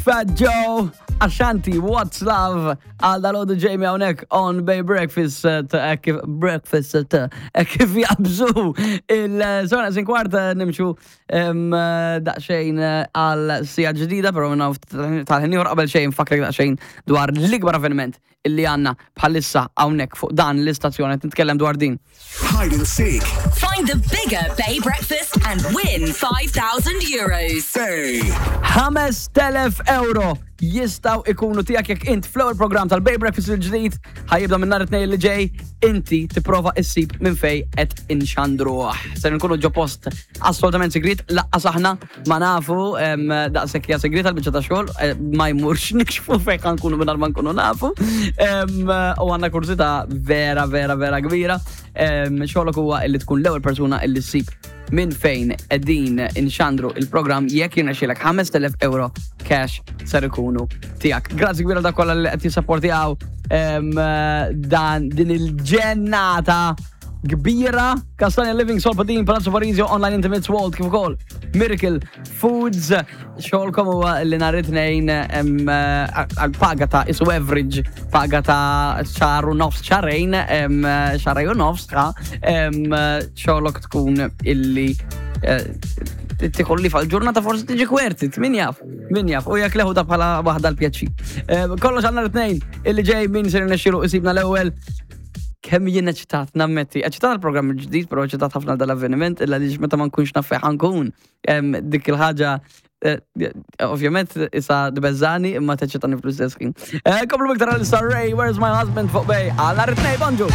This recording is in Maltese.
Fat Joe, Ashanti, What's Love, għal dal-għodu Jamie hawnhekk on Bay Breakfast, eh, kif breakfast, eh, kif jabżu il-sona sin kwart nimxu daqxejn għal sija ġdida, pero minna tal-ħin ieħor qabel xejn fakrek daqxejn dwar l-ikbar avveniment illi għandna bħalissa hawnhekk fuq dan l-istazzjon qed nitkellem dwar din. Hide and seek. Find the bigger Bay Breakfast and win €5,000. Bay. 5,000 euro jistgħu ikunu tiegħek jekk int fl-ewwel programm tal-Bay Breakfast il-ġdid ħa jibda minn nhar it-Tnejn li ġej, inti tipprova issib minn fej qed inxandruh. Ser nkunu ġo post assolutament sigrit, laqqas aħna ma nafu daqshekk hija sigrit għal-biċċa ta' xogħol, ma jmurx nikxfu fejn ħa nkunu mingħajr ma nkunu nafu. U għandna kurżità vera vera vera kbira. Xogħolok huwa illi tkun l-ewwel persuna illi ssib minn fejn qegħdin inxandru il-programm. Jekk jirnexxielek, 5000 euro cash ser ikunu tiegħek. Grazzi kbira dak kollha li qed jissapportjaw dan din il-ġennata kbira. Castagna Living, Sol Padin, Palazzo Parisio, Online Intimates World, kif ukoll Miracle Foods. Xogħolkom huwa li nhar it-Tnejn għal paga ta' isu average paga ta' xahar u nofs, xahrejn, xahrejn u nofs, ta' xogħolok tkun illi tikolli fal-ġurnata forsi tiġi kwerti, min jaf, min jaf, u jekk leħu ta' bħala waħda l-pjaċi. Kollox għal nhar it-Tnejn illi ġej, min ser nexxilu isibna l-ewwel. Kemm jien eċitat, nammetti, eċitat għal-programm il-ġdid, pero eċitat ħafna dal-avveniment, illa li meta ma nkunx naf fejn ħa nkun. Dik il-ħaġa, ovvjament, issa tbeżżagħni imma teċċitani fl-istess ħin. Komplu iktar għal Ray, Where's My Husband fuq Bay, għal nhar it-Tnejn, bonġu!